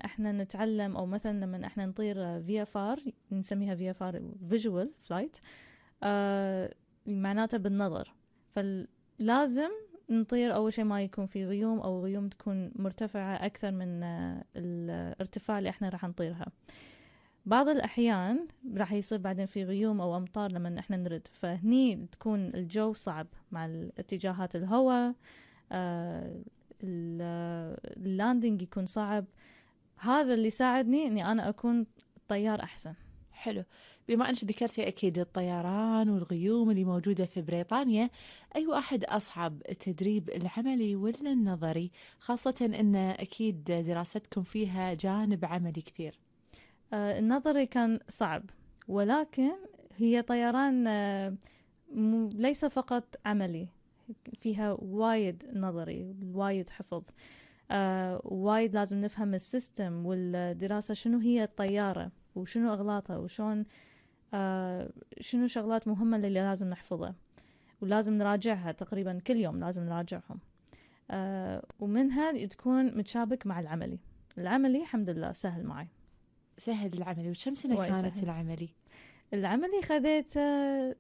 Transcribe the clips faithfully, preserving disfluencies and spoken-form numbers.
احنا نتعلم او مثلا لما احنا نطير في اف ار، نسميها في اف ار فيجوال فلايت، معناته بالنظر. فلازم نطير اول شيء ما يكون في غيوم، او غيوم تكون مرتفعة اكثر من آه الارتفاع اللي احنا راح نطيرها. بعض الأحيان راح يصير بعدين في غيوم أو أمطار لما إحنا نرد، فهني تكون الجو صعب مع اتجاهات الهواء، آه اللاندنج يكون صعب. هذا اللي ساعدني إني أنا أكون طيار أحسن. حلو. بما أنك ذكرتي أكيد الطيران والغيوم اللي موجودة في بريطانيا، أي واحد أصعب، التدريب العملي ولا النظري؟ خاصة أن أكيد دراستكم فيها جانب عملي كثير. آه النظري كان صعب، ولكن هي طيران آه ليس فقط عملي، فيها وايد نظري، وايد حفظ، آه وايد لازم نفهم السيستم والدراسة، شنو هي الطيارة وشنو أغلاطها وشون آه شنو شغلات مهمة اللي لازم نحفظها، ولازم نراجعها تقريبا كل يوم، لازم نراجعهم. آه ومنها تكون متشابك مع العملي. العملي الحمد لله سهل معي. سهل العملي. وكم سنة كانت سهل. العملي؟ العملي خذيت آه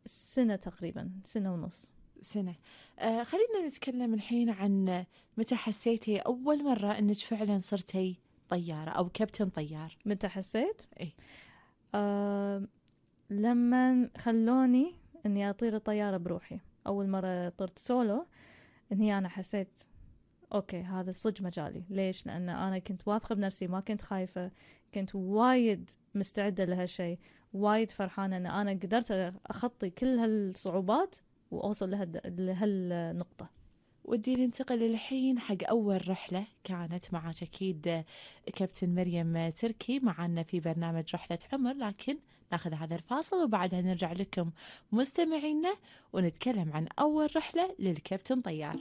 سنة تقريبا، سنة ونص. سنة. آه خلينا نتكلم الحين عن متى حسيتي أول مرة أنك فعلا صرتي طيارة أو كابتن طيار. متى حسيت؟ إيه؟ آه لما خلوني أني أطير الطيارة بروحي. أول مرة طرت سولو، أني أنا حسيت أوكي هذا صج مجالي. ليش؟ لأن أنا كنت واثقة بنفسي، ما كنت خايفة، كنت وايد مستعدة لهالشيء، وايد فرحانة أن أنا قدرت أخطي كل هالصعوبات وأوصل لهالنقطة. ودي ننتقل الحين حق أول رحلة كانت معك. أكيد كابتن مريم تركي معنا في برنامج رحلة عمر، لكن ناخذ هذا الفاصل وبعدها نرجع لكم مستمعينا ونتكلم عن أول رحلة للكابتن طيار.